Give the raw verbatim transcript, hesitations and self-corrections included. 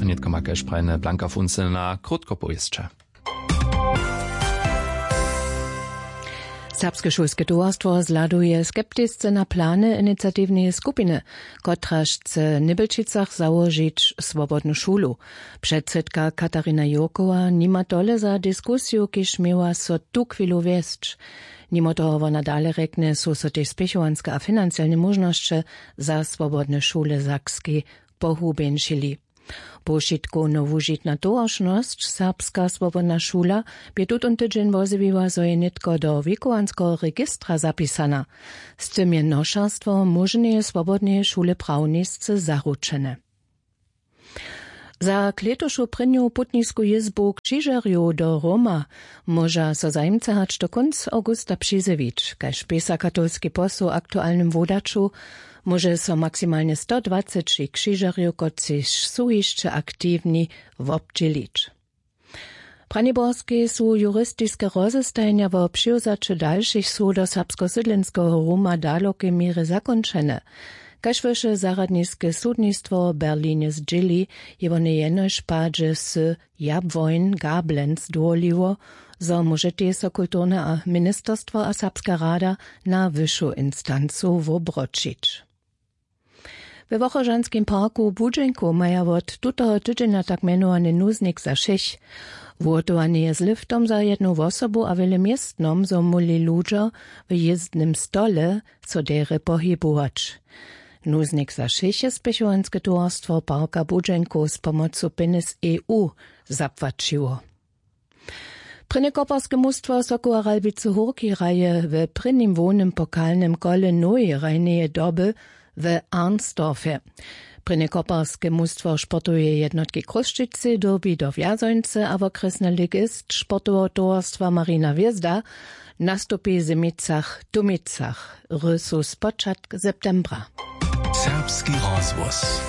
A nětko ma kaž prajene Blanka Funselna krótko powěsće. Serbske šulske towarstwo zhladuje skeptisce na plany iniciatiwneje skupiny, kotraž chce w Nybelčicach załožić swobodnu šulu. Předsydka Katarina Jurkowa nima tole za diskusiju, kiž měła so tuchwilu wjesć. Nimo toho wona dale rjekny, su so tež spěchowanske a financielne móžnosće za swobodne šule w Sakskej pohubjeńšili. Powšitkowno wužitna towaršnosć Serbska swobodna šula bě tutón tydźeń wozjewiła, zo je nětko do wěkowanskeho registra zapisana. Z tym je nošerstwo móžneje swobodneje šule prawnisce zaručene. Za klětušu prěnju putnisku jězbu křižerjow do Roma móža so zajimce hač do kónc awgusta přizjewić. Kaž pisa katolski posł w aktualnym wodaću, móže so maksimalnje stodwaceći křižerjow, kotřiž su hišće aktiwni, wobdźělić. W Braniborskej su juristiske rozestajenja wo přiwzaće dalšich sow do serbskosydlenskeho Ruma w dalokej měrje zakónčene. Kaž wyše zarjadniske sudnistwo w Berlinje zdźěli, je wone jenož w padźe sy Jabłoń Gablenz dowoliło, zo móžetej so kulturne a ministerstwo a serbska rada na wyšu instancu wobroćić. We Wochožanskim parku w Budźenku maja wot tutoho tydźenja tak mjenowany nuznik za wšěch. Wuhotowany je z liftom za jednu wosobu a wjele městnom, zo móhli ludźo w jězdnym stole so derje pohibować. Nuznik za wšěch je spěchowanske towarstwo parka Budźenku z pomocu pjenjez E U zapłaćiło. Prěnje koparske mustwo Sokoła Ralbicy Hórki hraje w prěnim hłownym pokalnym kole nowej hrajneje doby w Arnsdorfje. Prěnje koparske mustwo sportoweje jednotki Chrósćicy dyrbi do Wjazońcy a wokrjesny ligist sportoweho towarstwa Marina Hwězda nastupi w Zymicach Tumicach. Hry su spočatk septembra. Serbski rozhłos.